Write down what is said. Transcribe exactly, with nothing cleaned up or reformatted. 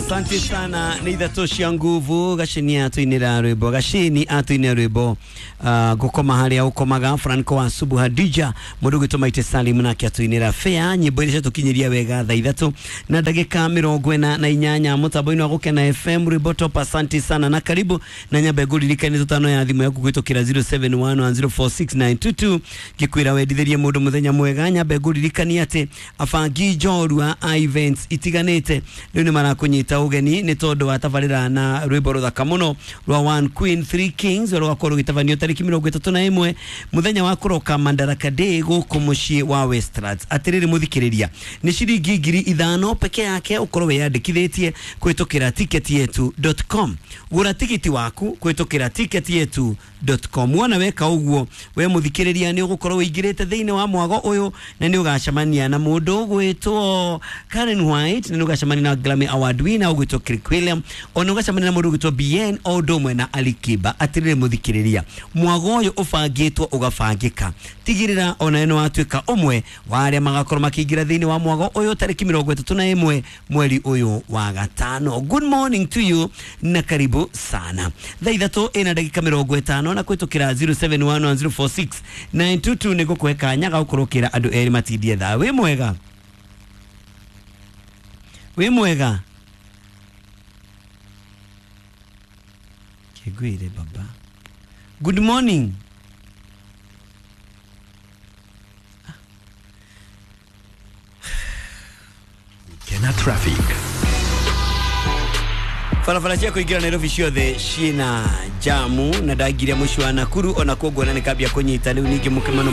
Asante sana nĩ ithatũ cia nguvu. Gacini atũinĩra rwĩmbo, Gacini atũinĩra rwĩmbo uh, gũkoma harĩa ũkomaga. Franco wa Subu Hadija, mũndũ ũgwĩtwo Maite Salim nake atũinĩra fair. Nyĩmbo iria ciatũkinyĩria wega thaa ithatũ na ndagĩka mĩrongo ĩna na inyanya mũtambo-inĩ wa Gũkena F M, rwĩmbo top. Asante sana na karibu, na nyambe ngũririkanie tũtano ya thimũ yaku kũhĩtũkĩra zero seven one one zero four six nine two two, ngĩkwĩra wendithĩrie mũndũ mũthenya mwega. Nyambe ngũririkanie atĩ abangi njorua a events itiganĩte rĩu nĩ marakũnyita ũgeni nĩ tondũ wa tabarĩra na rwĩmbo rũthaka mũno rwa One Queen Three Kings, rũgakorwo rũgĩtabanio tarĩki mĩrongo ĩtatũ na ĩmwe, mũthenya wa kũroka Madaraka Day, gũkũ mũciĩ wa Westlands. Atĩrĩrĩ mũthikĩrĩria, nĩ ciringi ngiri ithano peke yake ũkorwo wĩyandĩkithĩtie kũhĩtũkĩra ticket yetu dot com. Gũra tigiti waku kũhĩtũkĩra ticket yetu dot com. Wona weka ũguo, we mũthikĩrĩria, nĩ ũgũkorwo wĩingĩrĩte thĩinĩ wa mwago ũyũ, na nĩ ũgacemania na mũndũ ũgwĩtwo Karen White, na nĩ ũgacemania na Grammy Award winner ũgwĩtwo Kirk William, ona ũgacemania na mũndũ ũgwĩtwo B N, o ũndũ ũmwe na Ali Kiba. Atĩrĩrĩ mũthikĩrĩria, mwago ũyũ ũbangĩtwo ũgabangĩka. Tigĩrĩra ona nĩ watuĩka ũmwe wa arĩa magakorwo makĩingĩra thĩinĩ wa mwago ũyũ tarĩki mĩrongo ĩtatũ na ĩmwe mweri ũyũ wa gatano. Good morning to you na karibu sana. Thaa ithatũ ĩna ndagĩka mĩrongo ĩtano, na kũhĩtũkĩra zero seven one one zero four six nine two two nĩ ngũkũhe kanya ga gũkorwo ũkĩra andũ erĩ matindie thaa. Wĩ mwega, wĩ mwega. Kĩngwĩre baba, good morning. Kena Traffic. Barabara cia kũingĩra Nairobi ciothe ciĩna jamu, na ndaingĩria mũciĩ wa Nakuru ona kuo nguona nĩ kambia kũnyita rĩu ningĩ mũkĩmano.